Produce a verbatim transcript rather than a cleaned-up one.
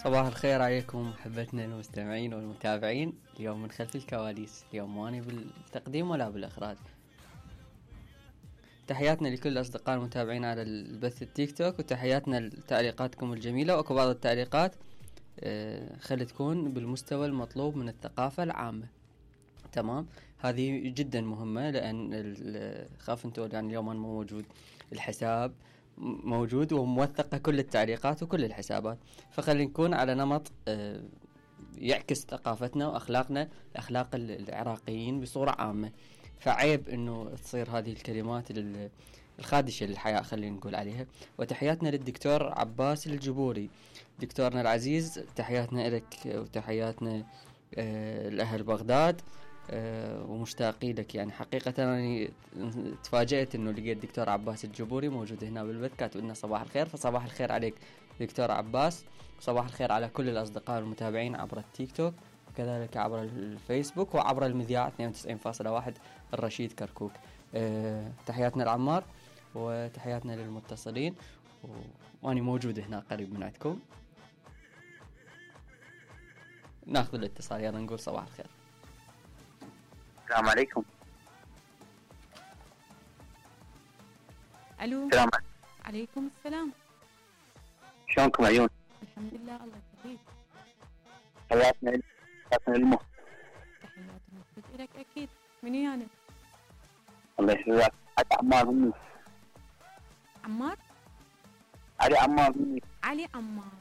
صباح الخير عليكم محبتنا المستمعين والمتابعين. اليوم من خلف الكواليس، اليوم ماني بالتقديم ولا بالإخراج. تحياتنا لكل الأصدقاء المتابعين على البث التيك توك، وتحياتنا لتعليقاتكم الجميلة. وأكو بعض التعليقات آه خلي تكون بالمستوى المطلوب من الثقافة العامة. تمام، هذه جدا مهمة، لأن خاف انتوا يعني اليوم أنا مو موجود، الحساب موجود وموثقة كل التعليقات وكل الحسابات، فخلي نكون على نمط آه يعكس ثقافتنا وأخلاقنا، أخلاق العراقيين بصورة عامة. فعيب انه تصير هذه الكلمات الخادشة للحياة خلينا نقول عليها. وتحياتنا للدكتور عباس الجبوري دكتورنا العزيز، تحياتنا لك وتحياتنا آه لأهل بغداد، أه ومشتاقين لك. يعني حقيقة أنا تفاجأت أنه لقيت دكتور عباس الجبوري موجود هنا بالبث، كاتب لنا صباح الخير. فصباح الخير عليك دكتور عباس، وصباح الخير على كل الأصدقاء المتابعين عبر التيك توك، وكذلك عبر الفيسبوك وعبر المذياع اثنين وتسعين فاصلة واحد الرشيد كركوك. أه تحياتنا لعمار وتحياتنا للمتصلين، وأنا موجود هنا قريب من عندكم. ناخذ الاتصال، يلا نقول صباح الخير. السلام عليكم. الو. السلام عليكم السلام. شلونكم عيون؟ الحمد لله، الله يخليك. حياتنا حياتنا للمه. تحيات المفروض لك اكيد. من ويانا؟ الله يحفظك. علي عمار مني. عمار؟ علي عمار مني. علي عمار.